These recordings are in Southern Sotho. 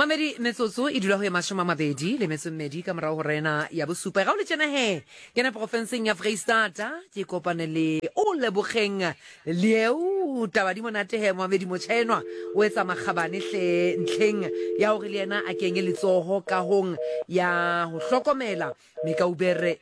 Mamedi metsotso e dula ho ye 20 le metso mmedi ka morago go rena ya bosupa. Ga o le tšena he, kena porofenseng ya Freistata, ke kopane le o lebogeng leo taba di monate he mamedi motjha enwa o etsa makgabane hle ntlheng ya hore le yena a kenye letsoho kahong ya ho hlokomela mekaubere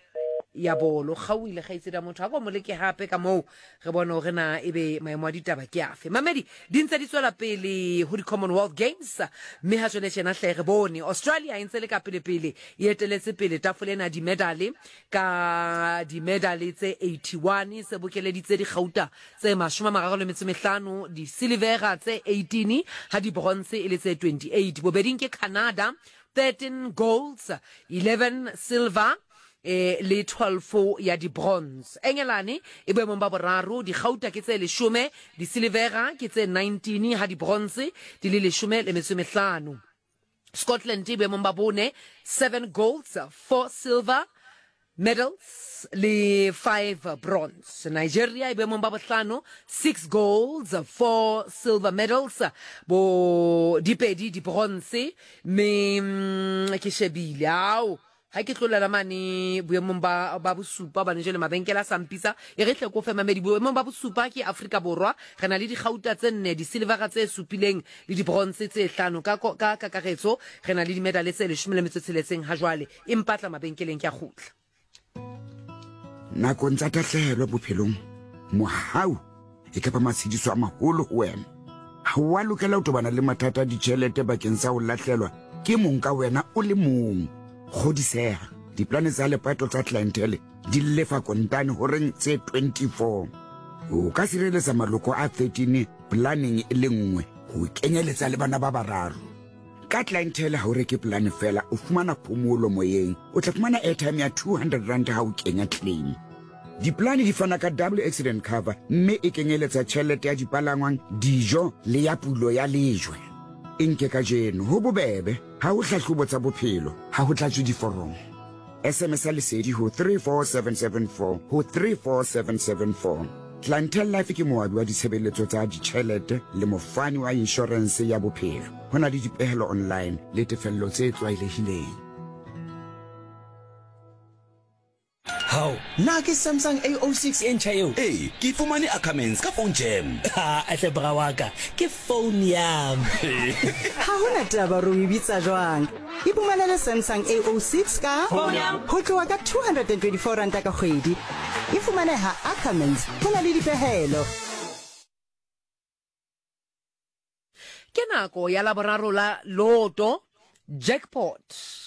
ya bolo. Kgaohile kgaitsedi ya motho, a ko mo leke hape ka moo re bone hore na ebe maemo a ditaba ke afe. Mamedi di ntse di tswela pele ho di-Commonwealth Games, mme ha jwale tjena hle re bone Australia e ntse le ka pele-pele, e eteletse pele tafole ena dimedale ka dimedale tse 81, se bokeleditse dikgauta tse 35, disilivera tse 18, ha dibronze e le tse 28. Bobeding ke Canada 13 golds, 11 silver e le 12 ya di-bronze. Engelane e boemong ba boraro, dikgauta ke tse leshome, disilivera ke tse 19, ha di-bronze di le leshome le metso e mehlano. Scotland e boemong ba bone, 7 golds, 4 silver medals le 5 bronze. Nigeria e boemong ba bohlano, 6 golds, 4 silver medals, bo dipedi di-bronze, mme mm, ke shebile ao ha ke tlolela mane boemong ba, ba bosupa bane jale mabenkele a sa mpitsa e re tle ko fe mamedi boemong ba bosupa ke Afrika Borwa re na le dikgauta tse nne disilivera tse supileng le dibronze tse hlano ka, ka kakaretso re na le dimedale tse leshome le metso tsheletseng ha jwale e mpatla mabenkeleng ke a kgutla. Nakong tsa tahlehelo bophelong, mohau e ka ba matshediso a maholo ho wena. Ha o a lokela ho tobana le mathata a ditjhelete bakeng sa ho lahlelwa ke mong ka wena o le mong. Kgodiseha, diplane tsa lepato tsa Clientele di lefa kontane horeng tse 24. O ka sireletsa maloko a 13 planeng e le nngwe, ho kenyeletsa le bana ba bararo. Ka Clientele ha o reke polane fela, o fumana phomolo moyeng. O tla fumana airtime ya R200 ha o kenya claim. Dipolane di fana ka double accident cover mme e kenyeletsa tjhelete ya dipalangwang, dijo le ya pulo ya lejwe. E nke kajeno, ho bobebe, ha ho hlahlobo tsa bophelo, ha ho tlatswe diforomo. SMS-a Lesedi ho 34774 ho 34774. Clientele Life ke moabi wa ditshebeletso tsa ditjhelete le mofani wa inshorense ya bophelo. Ho na le dipehelo online le tefello tse tlwaelehileng. Hao, na ke Samsung A06 e ntjha eo? Ee, ke e fumane Ackermans ka Phone Jam. Ha, hle bra wa ka, ke phone yam. Ha ho na taba hore o e bitsa jwang. Iphumanele Samsung A06 ka ho tloha ka R224 ka kgwedi. E fumaneha Ackermans, ho na le dipehelo. Ke nako ya Laboraro la Loto Jackpot,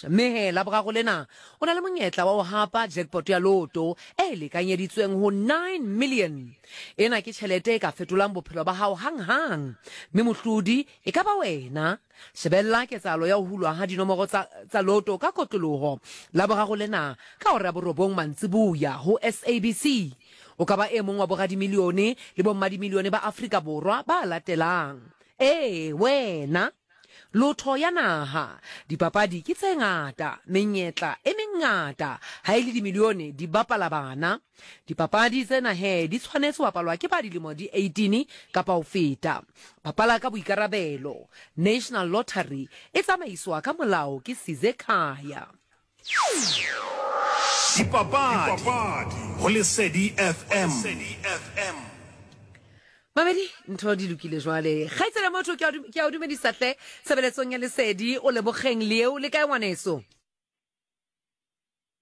mme he Laboraro lena o na le monyetla wa ho hapa jackpot ya Loto e lekanyeditsweng ho 9 million. Ena ke tjhelete e ka fetolang bophelo ba hao hanghang, mme mohlodi e ka ba wena. Shebella ketsahalo ya ho hulwa ha dinomoro tsa, tsa loto ka kotloloho Laboraro lena ka hora ya borobong mantsiboya ho SABC. O ka ba e mong wa boradimilione le bommadimilione ba Afrika Borwa ba latelang. Ee, wena! Lotho ya naha. Dipapadi ke tse ngata, menyetla e mengata, ha e le dimilione di bapala bana. Dipapadi tsena he di tshwanetse ho bapalwa ke ba dilemo di 18 kapa ho feta. Bapala ka boikarabelo. National Lottery e tsamaiswa ka molao ke Sizekhaya. Dipapadi go Lesedi FM. Mamedi, ntho di lokile jwale. Kgaitsedi ya motho, ke a o dumedisa hle tshebeletsong ya Lesedi. O Lebogeng Leo, le kae ngwaneso?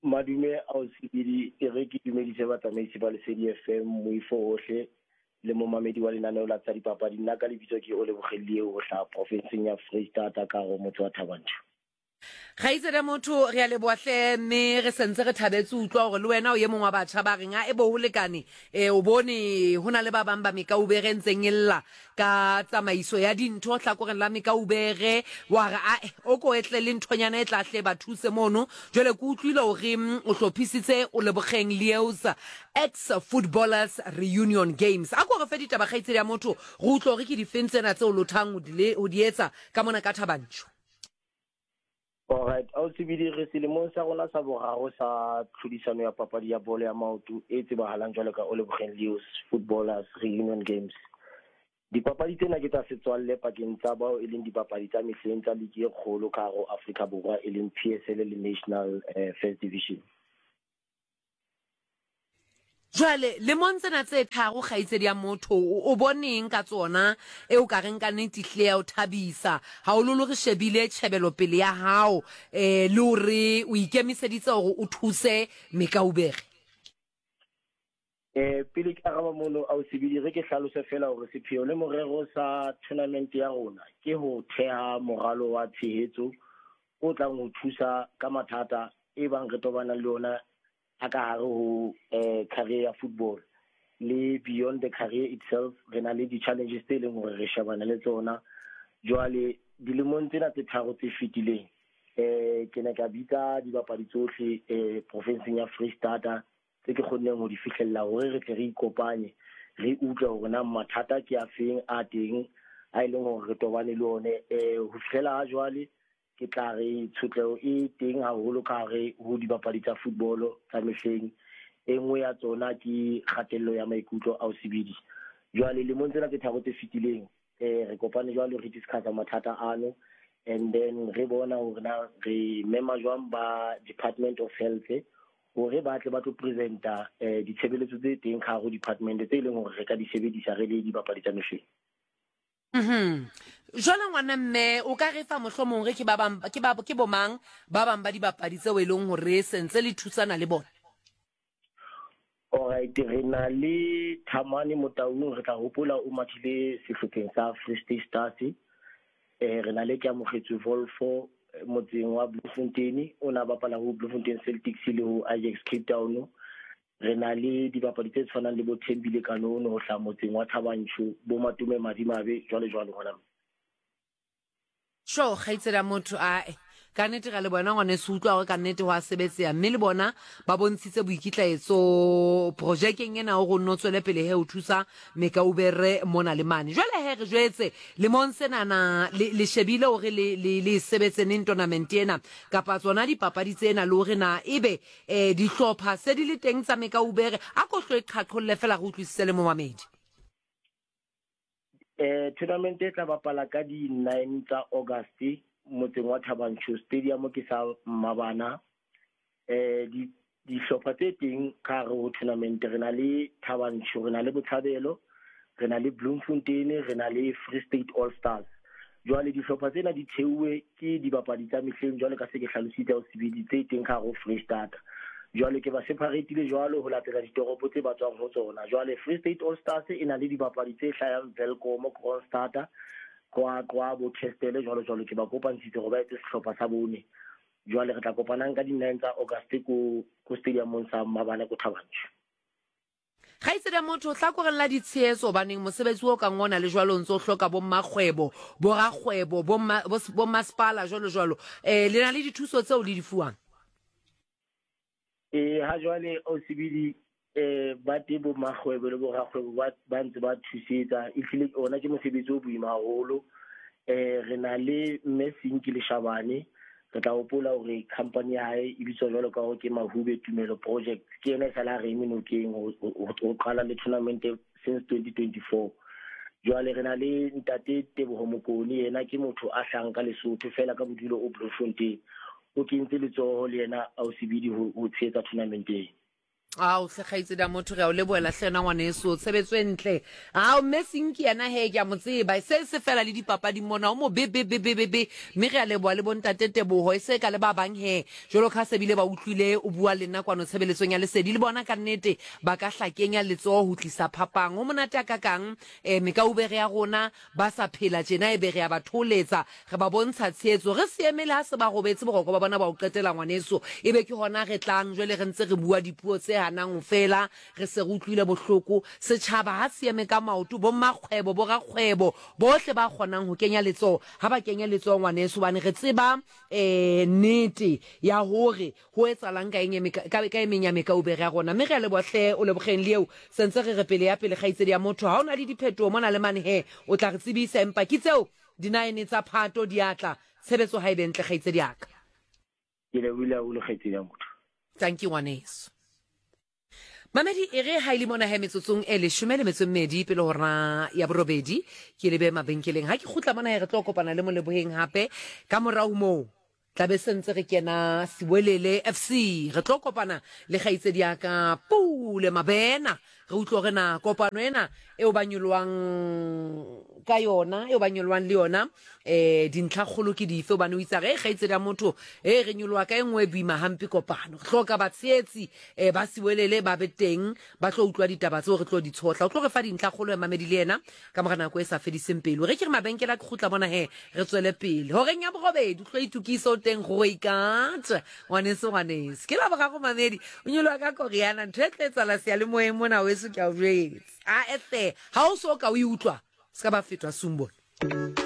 Madume ao Sebidi, e re ke dumedise batsamaisi ba Lesedi FM, moifo ohle le momamedi wa lenaneo la tsa dipapadi. Nna ka lebitso ke Olebogeng Lieu ho hlaha profenseng ya Freistata ka hare ho motse wa Thaba Nchu. Kgaitsedi ya motho, re a leboha hle, mme re sentse re thabetse ho utlwa hore le wena o ye mong wa batjha ba reng a e bo ho lekane. E, o bone ho na le ba bang ba mekaubere e ntseng e lla ka tsamaiso ya dintho hlakoreng la mekaubere, wa re ae o ko etle le nthonyana e tla hle ba thuse mono. Jwale ke utlwile hore o hlophisitse o Lebogeng Leos Ex Footballers Reunion Games. A ko re fe ditaba kgaitsedi ya motho, re utlwe hore ke difeng tsena tse o lothang ho di etsa ka mona ka Thaba Nchu. Alright, Ausibidi, re selemong sa rona sa boraro sa tlhodisano ya papadi ya bolo ya maoto e tsebahalang jwalo ka Olebogeng Leos Footballers Reunion Games. Dipapadi tsena ke tsa setswalle pakeng tsa bao e leng dibapadi tsa mehleng tsa liki e kgolo ka hare ho Afrika Borwa e leng PSL le National First Division. Jwale, lemong tsena tse tharo, kgaitsedi ya motho, o boneng ka tsona e o ka reng ka nnete ehlile ya o thabisa, haholoholo re shebile tjhebelopele ya hao eh, le hore o ikemiseditse hore o thuse mekaubere? Eh, pele ke araba mono, Ausibidi, re ke hlalose feela hore sepheo le morero sa tournament ya rona ke ho theha moralo wa tshehetso o tlang ho thusa ka mathata e bang re tobanang le ona a ka hare ho eh, career ya football le beyond the career itself. Re na le di-challenges tse leng hore re shebana le tsona. Jwale dilemong tsena tse tharo tse fetileng, eh, ke ne ka bitsa dibapadi tsohle eh, profinseng ya Freistata tse ke kgonneng ho di fihlella hore re tle re ikopanye, re utlwe hore na mathata ke a feng a teng a e leng hore re tobane le one. Ho fihlela ha jwale ke tla re tshotleho e teng haholo ka hare ho dibapadi tsa football tsa mehleng. E nngwe ya tsona ke kgatello ya maikutlo ao sebidi. Jwale lemong tsena tse tharo tse fetileng, re kopane jwalo re discussa mathata ano, and then re bona hore na re mema jwang ba Department of Health hore ba tle ba tlo presenta ditshebeletso tse teng ka hare ho department tse leng hore re ka di sebedisa re le dibapadi tsa mehleng. Jwale ngwana mme, o ka re fa mohlomong re ke ba bang, ke ba, ke bomang ba bang ba dibapadi tseo e leng hore sentse le thusana le bona? Alright, re na le Thamane Motaung, re tla hopola o mathile sehlopheng sa Free State Stars. Re na le Keamogetswe Volfo motseng wa Bloemfontein, o na bapala ho Bloemfontein Celtics le ho Ajax Cape Town. Re na le dibapadi tse tshwanang le bo Thembile Kanono ho hlaha motseng wa Thabanchu, bo Matome Madimabe, jwalo jwalo ngwana mme. Sho, kgaitsedi ya motho, ae. Ka nnete ra le bona ngwaneso, utlwa hore ka nnete ho a sebetseha, mme le bona ba bontshitse boikitlaetso projekeng ena hore o nno tswele pele he ho thusa mekaubere mona le mane. Jwale he re jwetse, lemong senana le, le shebile hore le, le, le e sebetse neng tournament ena kapa tsona dipapadi tsena, le hore na ebe eh, dihlopha se di le teng tsa mekaubere? A ko hlo e qhaqholle fela re utlwisise le momamedi. Tournament e tla bapala ka di 9 tsa August motseng wa Thabanchu, stadium ke sa Mmabana. Di dihlopha tse teng ka hare ho tournament re na le Thabanchu, re na le Botshabelo, re na le Bloemfontein, re na le Free State All Stars. Jwale dihlopha tsena di theuwe ke dibapadi tsa mehleng jwale ka se ke hlalositse ho sebedi tse teng ka hare ho Freistata. Jwale ke ba separatile jwalo ho latela ditoropo tse ba tswang ho tsona. Jwale Free State All Stars e na le dibapadi tse hlayang Welkom, Kroonstad, Qwaqwa, bo Kestele jwalo jwalo. Ke ba kopantshitse hore ba etse sehlopha sa bone. Jwale re tla kopanang ka di-9 tsa August ko ko stadiumong sa Mabana ko Thabanchu. Kgaitsedi ya motho, hlakoreng la ditshehetso, hobaneng mosebetsi o kang ona le jwalo o ntse o hloka bommakgwebo, borakgwebo, bomma, bommasepala, jwalo jwalo. Eh, le na le dithuso tseo le di fuwang? Eh, ha jwale Osibili, eh, ba teng bommakgwebo le borakgwebo ba, ba ntse ba thusetsa. Ehlile ona ke mosebetsi o boima haholo. Eh, re na le Mme Sinki Leshabane. Re tla hopola hore company ya hae e bitswa jwalo ka hore ke Mahube Tumelo Project. Ke yena e sale a re eme nokeng ho qala le tournament since 2024. Jwale re na le Ntate Teboho Mokone, yena ke motho a hlahang ka Lesotho fela ka bodulo o Bloemfontein. O kentse letsoho le yena Ausibidi ho tshehetsa tournament ena. Ao hle kgaitsedi ya motho, re a o lebohela hle ena ngwaneso, tshebetso e ntle. Ao mme Sinki yena he ke a mo tseba, e se se fela le dipapading mona, o mo be be be be be be, mme re a leboha le bontate Teboho, e se ka le ba bang he, jwalo ka ha se bile ba utlwile o bua le nna kwano tshebeletsong ya Lesedi, le bona ka nnete ba ka hla kenya letsoho ho tlisa phapang. Ho monate a kakang eh, mekaubere ya rona ba sa phela tjena, ebe re a ba thoholetsa, re ba bontsha tshehetso, re se emele ha se ba robetse boroko ba bona ba ho qetela ngwaneso, ebe ke hona re tlang jwale re ntse re bua dipuo tse hanang ho fela, re se re utlwile bohloko. Setjhaba ha se eme ka maoto, bommakgwebo, borakgwebo, bohle ba kgonang ho kenya letsoho, ha ba kenye letsoho ngwaneso, hobane re tseba um nnete ya hore Ho etsalang ka eng ka, ka e meng ya mekaubere ya rona? Mme re a leboha hle, o lebogeng le eo. Sentse re re pele ya pele, kgaitsedi ya motho. Ha o na le diphetoho mona le mane he, o tla re tsebisa. Empa ke tseo dinaene tsa Phato di a tla. Tshebetso ha e be ntle, kgaitsedi ya ka. Ke lebohile haholo, kgaitsedi ya motho. Tanki ngwaneso. Mamedi e re ha e le mona he metsotsong e leshome le metso e mmedi pele hora ya borobedi ke lebe mabenkeleng. Ha ke kgutla mona he re tlo kopana le Moleboheng hape ka morao moo tlabe se ntse re kena Siwelele FC. Re tlo kopana le kgaitsedi ya ka Pule Mabena re utlwe hore na kopano ena eo ba nyolohang ka yona eo ba nyolohang le yona eh dintlhakgolo ke dife hobane o itsa re kgaitsedi ya motho e re nyoloha ka e nngwe e boima hampe kopano re hloka batshehetsi eh ba siwelele ba be teng ba tlo utlwa ditaba tseo re tlo di tshohla o tlo re fa dintlhakgolo ya mamedi le yena ka mora nako e sa fediseng pelo re ke re mabenkele a ke kgutla bona he re tswele pele horeng ya borobedi o tlo itukisa o teng go ikata ngwaneso ngwaneso ke la boraro mamedi o nyoloha ka koriana ntho e tlo etsala seyalemoyeng mona weso ke a o jwetsa a ehle ha o so ka o e utlwa se ka ba fetwa sumbona.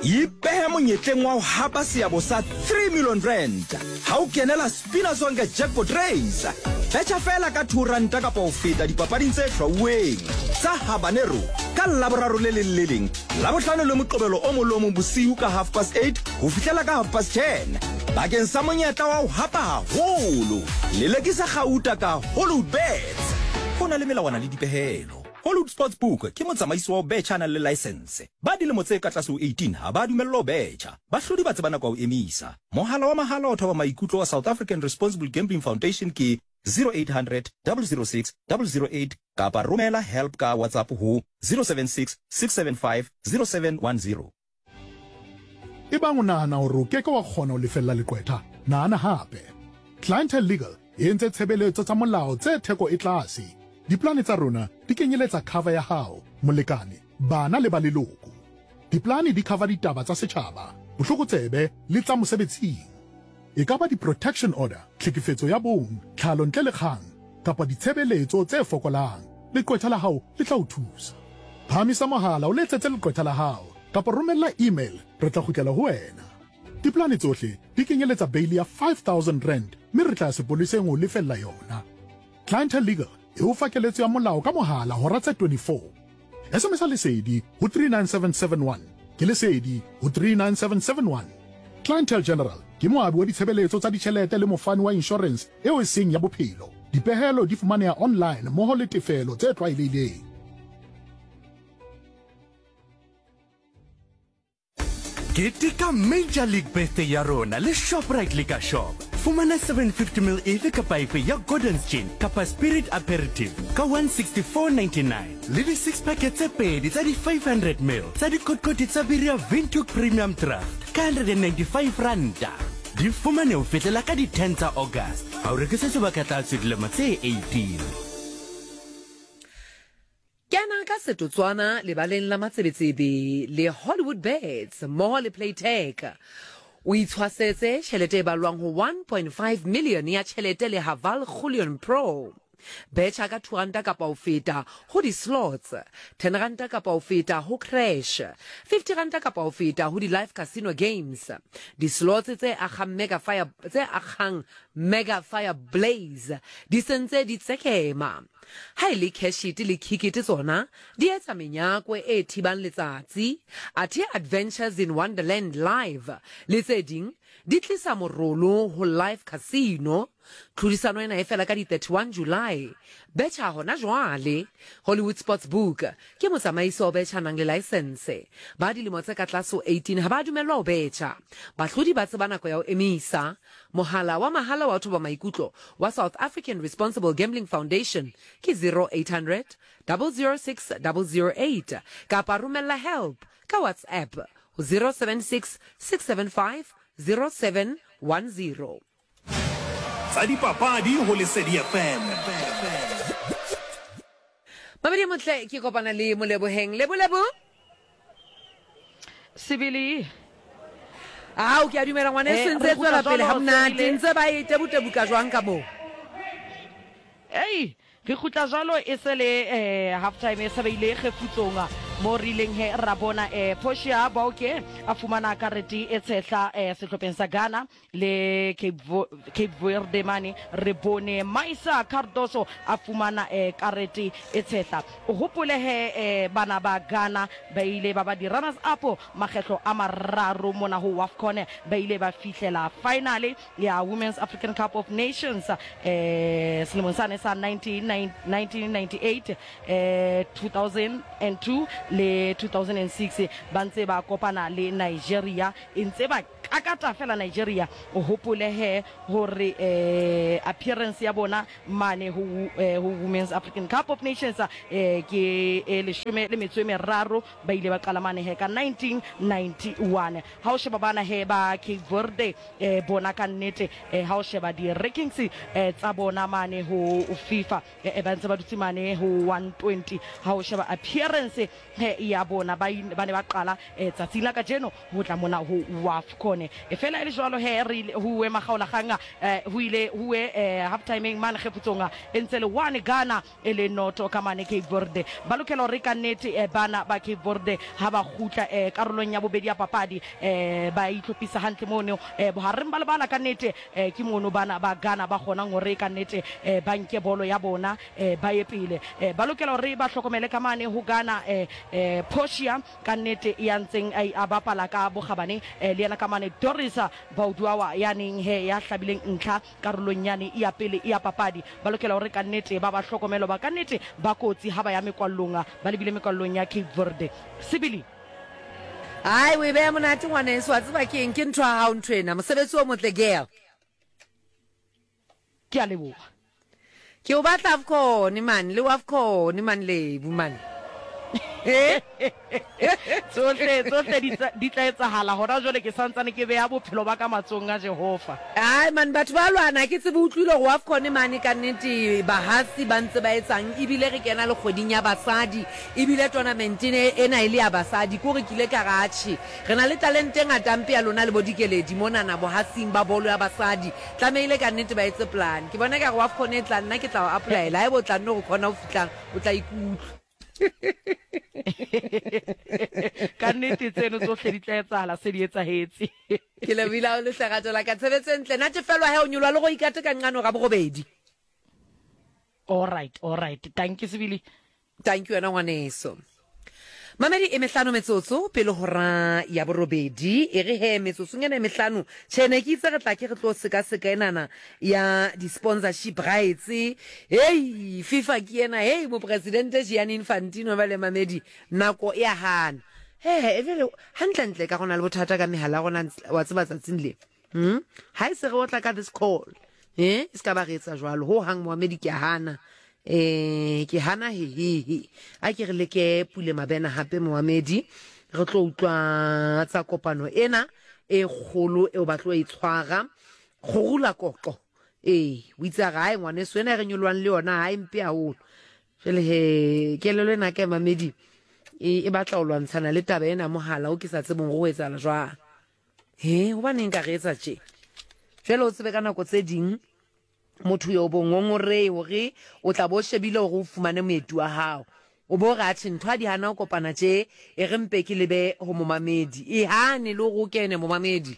Ipehe monyetleng wa ho hapa seabo sa 3 million rand ha o kenela Spina Sonke Jackpot Race. Betjha feela ka 2 ranta kapa ho feta dipapading tse hlwauweng tsa Habanero ka Laboraro le leng le leng, Labohlano le Moqebelo o mong le o mong bosiu ka half past 8 ho fihlela ka half past 10 bakeng sa monyetla wa ho hapa haholo. Lelekisa kgauta ka Hollywoodbets. Ho na le melawana le dipehelo. Hollywood Sportsbook ke motsamaisi wa ho betjha a nang le laesense. Ba dilemo tse ka tlase ho 18 ha ba dumellwa ho betjha. Bahlodi ba tseba nako ya ho emisa. Mohala wa mahala wa thoba maikutlo wa South African Responsible Gambling Foundation ke 0800 006 008 kapa romela help ka WhatsApp ho 076 675 0710. Ebang o nahana hore o ke ke wa kgona ho lefella leqwetha, nahana hape. Clientele Legal e entse tshebeletso tsa molao tse theko e tlase. Diplane tsa rona di kenyeletsa cover ya hao, molekane, bana le ba leloko. Diplane di cover ditaba tsa setjhaba, bohlokotsebe le tsa mosebetsing. E ka ba di-protection order, tlhekefetso ya bong, tlhalo ntle le kgang, kapa ditshebeletso tse fokolang, leqwetha la hao le tla o thusa. Phahamisa mohala o letsetse leqwetha la hao, kapa romella email re tla kgutlela ho wena. Dipolane tsohle di kenyeletsa beili ya R5000 mme re tla ya sepoleseng ho o lefella yona. Clientele Legal e o fa keletso ya molao ka mohala hora tse 24. SMS-a Lesedi ho 39771. Ke Lesedi ho 39771. Clientele General ke moabi wa ditshebeletso tsa ditjhelete le mofani wa inshorense eo e seng ya bophelo. Dipehelo di fumaneha online mmoho le tefelo tse tlwaelehileng. Keteka Major League Birthday ya rona le Shoprite Liquor Shop. Fumana 750 ml efe kapa efe ya Gordon's Gin kapa Spirit Aperitif ka 164.99 le di six pack tse pedi tsa di 500 ml tsa dikotikoti tsa biri ya Windhoek Premium Draft ka 195 ranta. Di fumane ho fihlela ka di 10 tsa August. Ha o rekisetswe ba ka tlase dilemo tse 18. Kena ka setotswana lebaleng la matsebetsebe le Hollywood Bets mmoho le Playtech. O itshwasetse tjhelete e balwang ho 1.5 million ya tjhelete le Haval Jolion Pro. Betjha ka R2 kapa ho feta ho di-slots, R10 kapa ho feta ho crash, R50 kapa ho feta ho di-live casino games. Di-slots tse akgang mega fire, tse akgang mega fire blaze di sentse di tsekema. Ha e le Cashit le Kickit tsona di etsa menyakwe e thibang letsatsi, athe Adventures in Wonderland Live le tse ding di tlisa morolo ho Live Casino. Tlhodisano ena e fela ka di 31 July. Betjha hona jwale. Hollywood Sportsbook ke motsamaisi wa ho betjha nang le laesense. Ba dilemo tse ka tlase ho 18 ha ba dumellwa ho betjha. Bahlodi ba tseba nako ya ho emisa. Mohala wa mahala wa ho thoba maikutlo wa South African Responsible Gambling Foundation ke 0800 006 008 kapa romella help ka WhatsApp ho 076 675 0710. Tsa dipapadi ho Lesedi FM. Mamedi motle ke kopana le Moleboheng. Lebo lebo. Sebele. Ao ke a dumela ngwaneso Eh, ntse e re kgutla tswela pele jwalo, ha monate Sebele. ntse ba e tebutebuka jwang ka moo. Ei, re kgutla jwalo e se le eh, half time e se ba ile kgefutsong. Mo re ileng he ra bona eh, Portia Bauke a fumana karete e tshehla eh, sehlopheng sa Ghana le Cape, Vo Cape Verde mane re bone Maisa Cardoso a fumana eh, karete e tshehla. O hopole he eh, bana ba Ghana ba ile ba ba di-runners up makgetlo a mararo mona ho WAFCON, ba ile ba fihlela finale ya Women's African Cup of Nations eh, selemong sane sa 1998, eh, 2002 le 2006 ba ntse ba kopana le Nigeria e ntse ba kakata fela Nigeria. O hopole he hore eh, appearance ya bona mane ho, eh, ho Women's African Cup of Nations eh, ke e leshome le metso e meraro, ba ile ba qala mane he ka 1991. Ha o sheba bana he ba Cape Verde eh, bona ka nnete eh, ha o sheba di-rankings eh, tsa bona mane ho FIFA eh, ba ntse ba dutse mane ho 120. Ha o sheba appearance eh, ya bona ba ba ne ba qala eh, tsatsing la kajeno ho tla mona ho WAFCON. E fela e le jwalo he re ho uwe makgaolakgang eh, ho ile ho uwe eh, half timeng mane kgefutsong e ntse le 1 Ghana e le noto ka mane Cape Verde. Ba lokela hore ka nnete eh, bana ba Cape Verde ha ba kgutla eh, karolong ya bobedi ya papadi eh, ba itlhophisa hantle mono eh, bohareng ba lebala ka nnete eh, ke mono bana ba Ghana ba kgonang hore ka nnete eh, ba nke bolo ya bona eh, ba ye pele. Eh, ba lokela hore ba hlokomele ka mane ho Ghana eh, eh, Portia ka nnete ya ntseng a, a bapala ka bokgabane eh, le yena ka mane Doris Bauduawa ya neng he ya hlabileng ntlha Karolong yane ya pele ya papadi, ba lokela hore ka nnete ba ba hlokomele hoba ka nnete ba kotsi ha ba ya mekwallong, ba lebile mekwallong ya Cape Verde. Sebele. Hai o e beha monate ngwaneso, wa tseba ke eng, ke ntho ya hao ntho ena. Mosebetsi o motle girl. Ke a leboha. Ke o batla Afcon man, le Afcon man Lebu man. Eh? Tsohle tsohle di tla di tla etsahala hona jwale ke santsane ke beha bophelo ba ka matsohong a Jehova. Ai man batho ba lwana ke tsebe utlwile gore Wafcon mane ka nnete bahasi ba ntse ba etsang ebile re kena le kgweding ya basadi ebile tournament ena e le ya basadi kore ke ile ka re atjhe Re na le talente e ngata mpe ya lona le bo Dikeledi monana bohasing ba bolo ya basadi. Tlamehile ka nnete ba etse plan. Ke bona ekare Wafcon e tlang nna ke tla o applyela. Haeba o tla nno re khona ho fihlang o tla ikutlwa. Ka nnete tseno tsohle di tla etsahala se di etsahetse. Ke lebohile haholo hle rato la ka. Tshebetso e ntle. Natefelwa he o nyoloha le go ikate ka nqane hora borobedi. Alright, alright. Tanki sebili. Thank you wena ngwaneso. Mamedi e mehlano metsotso pele hora ya borobedi e re he metsotsong ena e mehlano tjhe ne ke itse re tla ke re tlo sekaseka enana ya di-sponsorship rights hei FIFA ke ena hei mopresidente Gianni Infantino ba le mamedi nako e a hana he e hantlentle ka gona le bothata ka mehala ya rona wa tseba tsatsing le Hmm? Ha e se re otla ka this call. Eh, e se ka ba re etsa jwalo. Ho hang Mohamedi ke a hana. Eh, ke hana he he he. A ke re leke Pule Mabena hape Mohamedi. Re tlo utlwa tsa kopano ena e kgolo eo ba tlo e tshwara. Kgorula koqo. Ee, o itse a re hae ngwaneso ena e re nyolohang le yona ha e mpe haholo. Jwale he kelelo ena ka Mamedi e, e batla ho lwantshana le taba ena mohala o ke sa tsebeng go etsahala jwang. He, hobaneng ka re etsa tje? Jwale o tsebe ka nako tse ding motho yo bo ngongorei hore o tla bo shebile hore o fumane moeti wa hao. O bo re atjhe ntho ha di hana ho kopana tje, e re mpe ke lebe ho momamedi. E hane le hore o kene momamedi.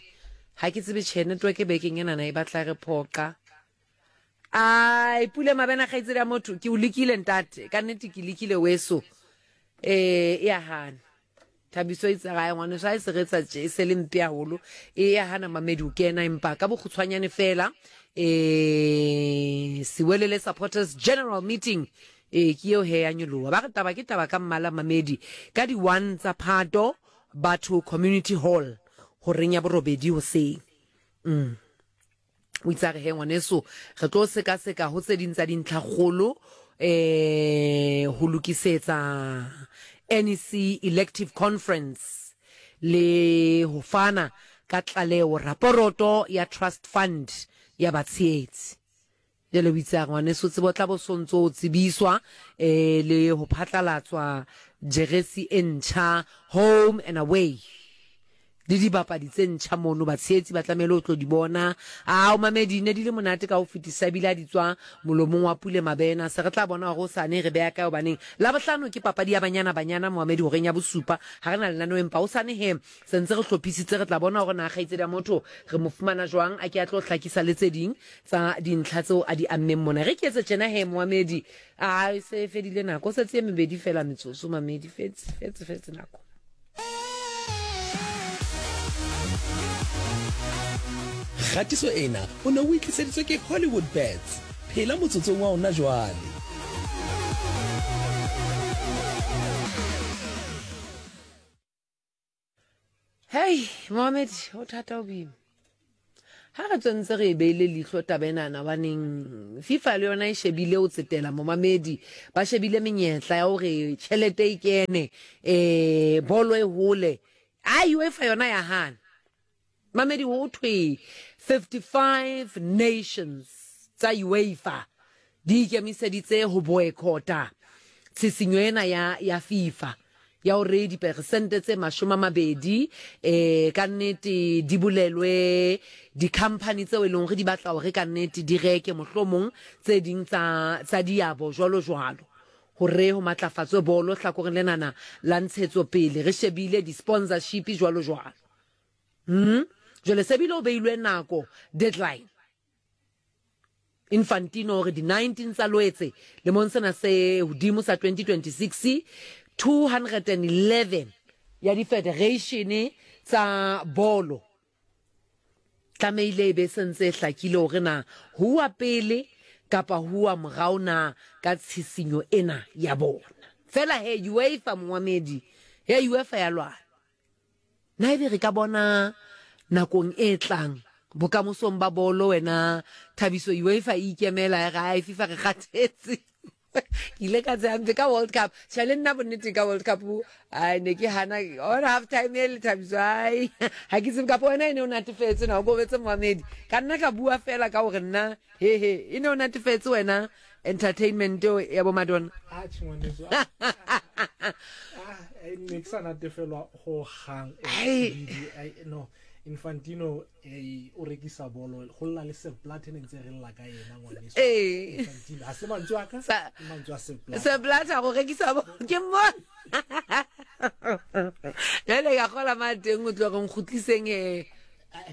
Ha ke tsebe tjhe network bekeng enana e batla e re phoqa. Ai Pule Mabena kgaitsedi ya motho ke o lekile ntate ka nnete ke lekile weso eh e a hana Thabiso itse gae ngwaneso ha e se re etsa tje e se le mpe haholo e ya hana mamedi o kena empa ka bokgutshwanyane fela eh Siwelele supporters general meeting eh ke eo he ya nyoloha ba re taba ke taba ka mmala mamedi ka di 1 tsa Phato batho community hall horeng ya borobedi hoseng mm O itse a re he ngwaneso re tlo sekaseka ho tse ding tsa dintlhakgolo eh ho lokisetsa NEC elective conference le ho fana ka tlaleho raporoto ya trust fund ya batshehetsi. Jwale o itse a re ngwaneso tsebo tla bo sontso o tsebiswa eh le ho phatlalatswa jeresi e ntjha home and away. Le dibapadi tse ntjha mono, batshehetsi ba tlamehile ho tlo di bona. Ao, mamedi, ne di le monate ka ho fetisisa ebile ha di tswa molomong wa Pule Mabena. Se re tla bona hore hosane re beha kae hobaneng Labohlano ke papadi ya Banyana Banyana, momamedi, horeng ya bosupa. Ha re na lenaneo empa hosane he se ntse re hlophisitse, re tla bona hore na kgaitsedi ya motho re mo fumana jwang a ke a tlo hlakisa le tse ding tsa dintlha tseo a di ammeng mona. Re ke etse tjena he, momamedi, a e se e fedile nako, o setse e mebedi feela metsotso, mamedi, fetse, fetse, fetse nako. Kgatiso ena o ne o e tliseditswe ke Hollywood Bets. Phela motsotsong wa ona jwale. Hei, Mohammed, o thata o boima. Ha re tswentse re e beile leihlo taba enana baneng FIFA le yona e shebile o tsetela momamedi ba shebile menyetla ya hore tjhelete e kene eh bolo e hole a UEFA yona ya hana mamedi ho thwe 55 nations tsa UEFA di ikemiseditse ho boekota tshisinyo ena ya, ya FIFA ya hore diperesente tse 20 eh ka nnete di bolelwe dikhamphani tseo e leng hore di batla hore ka nnete di reke mohlomong tse ding tsa, tsa diabo jwalo jwalo hore ho matlafatswe bolo hlakoreng lenana la ntshetsopele re shebile di-sponsorship jwalo jwalo. Hmm? Jwale se bile o beilwe nako deadline Infantino hore di-19 tsa Loetse lemong sena se hodimo sa 2026, 211 ya difedereishene tsa bolo tlamehile e be se ntse e hlakile hore na huwa pele kapa huwa morao na ka tshisinyo ena ya bona. Fela he UEFA mongwamedi, he UEFA ya lwana. Na ebe re ka bona nakong e tlang bokamosong ba bolo wena Thabiso UEFA e ikemela ya re ai FIFA re kgathetse ke ile ka tsehampe ka World Cup tjhe le nna bonnete ka World Cup ai ne ke hana on half time e le Thabiso ai ha ke tsebe kapa wena e ne o natefetse na o kobetse moamedi ka nna ka bua fela ka hore nna He he, e ne o natefetse wena entertainment eo ya bo Madonna. Atjhe ngwaneso. Ah, ne ke sa natefelwa ho hang. No, Infantino eh, o rekisa bolo go lla le Sepp Blatter ne ntse re lla ka yena ngwaneso. Ee. Infantino ha se mantswe a ka, mantswe a Sepp Blatter. Sepp Blatter go rekisa bolo ke mo. Jale ka gola ma teng o tlo re nkgutliseng he.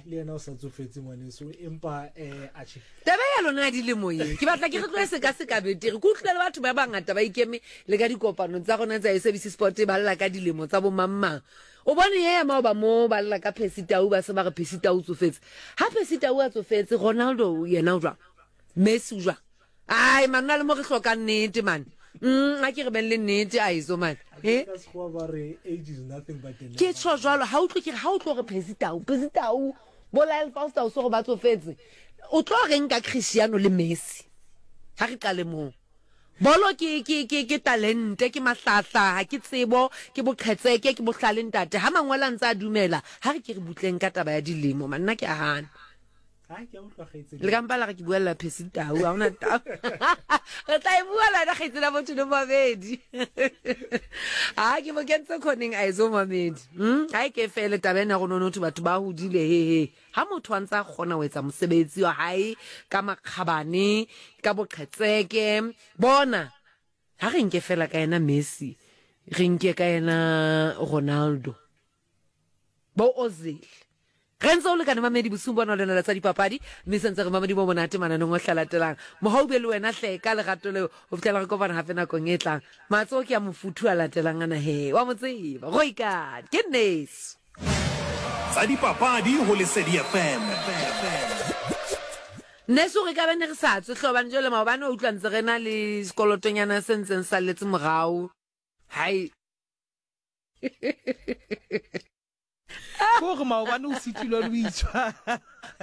le yena o sa tsofetse ngwaneso empa um atjhe taba ya lona ya dilemo ye ke batla ke re tloe sekaseka betere ke utlwile le batho ba bangata ba ikeme le ka dikopanong tsa rona tsa sabc sport ba lla ka dilemo tsa bomangmang o bone ye ya maoba mo ba lla ka Percy Tau ba se ba re Percy Tau o tsofetse ha Percy Tau a tsofetse Ronaldo yena o jwang Messi o jwang Ai man, na le mo re hlokang nnete man. Mm, a ke re beng le nnete a eso man. Eh? Ka sekgowa ba re age is nothing but a number. Ke tjho jwalo, ha utlwe ke re ha o tlo re Percy Tau, Percy Tau, bo Lyle Foster o so re ba tsofetse. O tlo reng ka Cristiano le Messi? Ha re qale moo. Bolo ke ke ke ke talente, ke mahlahla, ha ke tsebo, ke boqhetseke, ke bohlale ntate. Ha mangwele a ntse a dumela, ha re ke re butleng ka taba ya dilemo man, nna ke a hana. Le ka mpa la re ke buella Percy Tau, ha hona taba. Re tla e bua le wena kgaitsedi ya motho le mamedi. Ha ke mo kentse khoneng a etso mamedi. Ha e ke fele taba ena go nono batho ba hodile he he. Ha motho a ntse a kgona ho etsa mosebetsi wa hae ka makgabane, ka boqhetseke, bona ha re nke fela ka yena Messi, re nke ka yena Ronaldo. Bo Ozil. Re ntse o lekane mamedi bosiung bona lena la tsa dipapadi mme sentse re mamedi bo monate mananeng o hlalatelang. Mohau be le wena hle ka lerato leo ho fihlela re kopana hape nakong e tlang. Matsoho ke a mofuthu a latelang ana he wa mo tseba. Roikane ke nneso. Tsa dipapadi ho Lesedi FM. Nneso re ka be ne re sa tswe hle hobane jwale maobane wa utlwa ntse re na le sekolotonyana se ntseng salletse morao. Hai. Ko gore maobane o sitilwe le o itshwara.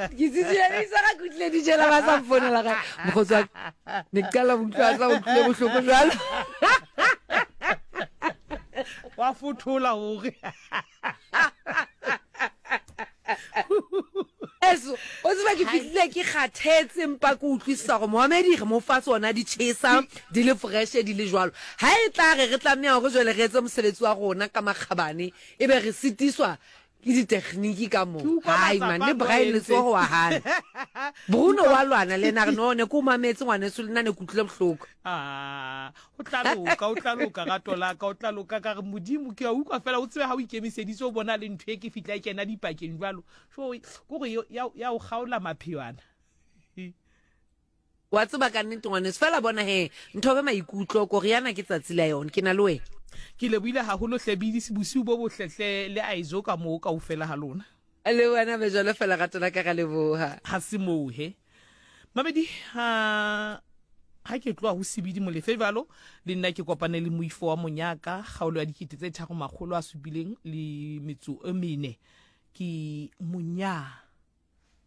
Ke sitilwe le itshwara ke utlwile di jela ba sa mfonela gae. Mokgotsi wa ka, ne ke qala ho utlwa a sa utlwile bohloko jwalo. Wa fothola hore. Eso, o tseba ke fihlile ke kgathetse mpa ke utlwisisa gore moamedi re mo fa tsona di tjhesa di le fresh di le jwalo. Ha e tla re re tlameha hore jwale re etse mosebetsi wa rona ka makgabane ebe re sitiswa. Ke ditegniki ka mo. Ke utlwa Hai man, matsapa le a Brian entse. letsogo wa gana. Bruno wa lwana le ena a re no ne ke o mametse ngwaneso le nna ne ke utlwile bohloko. Ah, o tla loka, o tla loka rato la ka, o tla loka ka re Modimo ke a utlwa fela o tsebe ha o ikemiseditse o bona le ntho e ke fihla e kena dipakeng jwalo. So ko re ya ya o kgaola maphewana. Wa tseba ka nnete ngwaneso, fela bona he, nthobe maikutlo, koriana ke tsatsi la yona, ke na le wena. Ke lebohile haholo hle Bidisi, bosiu bo botle hle le Aizo ka moo kaofela ha lona. Le wena be jwalo fela rato la ka ra leboha. Ha se moo he. Mamedi ha ha ke tloha ho Sebidi Molefe jwalo le nna ke kopane le moifo wa monyaka kgaolo ya 3704. Ke monya.